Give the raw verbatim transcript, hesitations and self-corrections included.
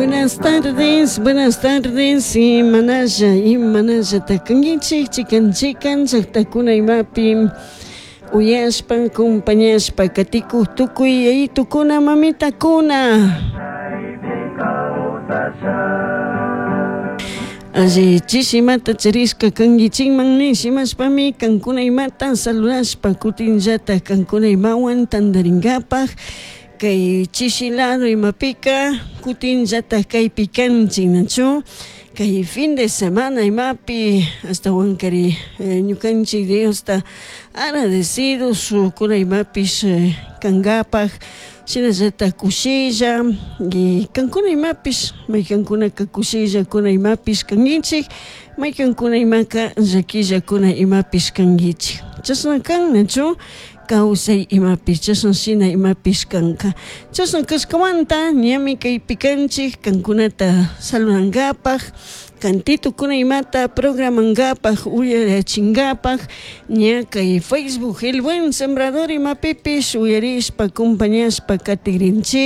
Buenas tardes, buenas tardes, imanalla, imanalla kankichik, chikan chikan, llaqtakuna imapi uyashpa, acompañashpa, katikuq tukuy yayitukuna, mamitakuna. Alli chishimata charishka kankichikman nishimashpami kankuna imata saludashpa kutinllatak kankuna imawan tantarinkapaj kay chishilado imapika kutinllatak kaypi kanchik nachu kay fin de semana imapi ashtawankari ñukanchik Diosta agradecidos kuna imapish kankapak shinallatak kushilla y kankuna imapish maykankunaka kushilla kuna imapish kankichik maykankuna imaka llakilla kuna imapish kankichik chashna kan nachu kawsay imapish chashna shina imapish kanka chashna kashkamanta ñami kaypi kanchik kankunata saludankapak kantitukuna imata programankapak uyarachinkapak ña kay Facebook El Buen Sembrador imapipish uyarishpa acompañashpa katikrinchik.